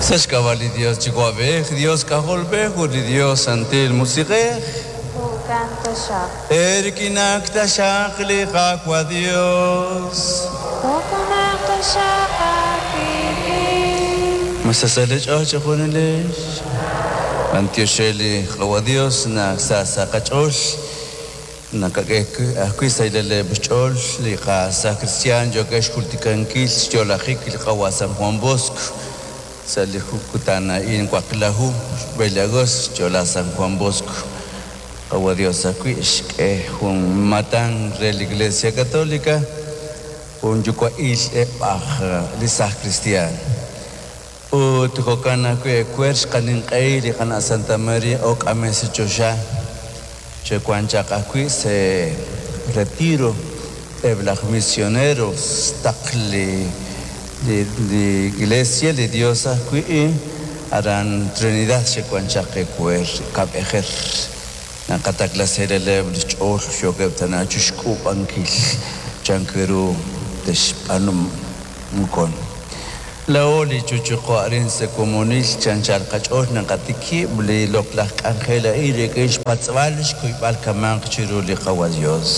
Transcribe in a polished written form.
Sa' xk'ab'a' li Dios Yuwa'b'ej, Dios K'ajolb'ej ut li Dios Santil Musiq'ej. Jo'kan taxaq. Eerik'inak taxaq li Qaawa' Dios. Jo'kanaq taxaq aawik'in. Ma sa sa' li ch'och' chejunilex. B'antiox re li Qaawa' Dios naq sa sa' qach'ool nakak'e ajwi' sahilal xch'ool li qasa cristian yookeb' xjultikankil xyo'lajik li Qawa' San Juan Bosco. Sa' li kutan a'in waqlaju xb'e li agosto xyo'la San Juan Bosco. Qawa' Dios ajwi' xk'e jun matan re la Iglesia Católica jun yuwa'il eb'aj li saj cristian. Ut jo'kan ajwi' ewer xqaninq'ehi li qana' Santa Maria ok'ame sa' choxa xe'wan chaq ajwi' sa' retiro eb' laj misioneros taq li li iglesia li Dios ajwi' aran Trinidad xe'wan chaq ewer kab'ejer naqatakla se'releb' li xch'ool yookeb' tana chixk'uub'ankil chan ru texb'aanu mukon. Laa'o li chuchuqo arin sa' komonil chanchal qach'ool naqatikib' li loq'laj k'anjel a'in rik'in xpatz'b'al xkuyb'al kamanq chiru li Qawa' Dios.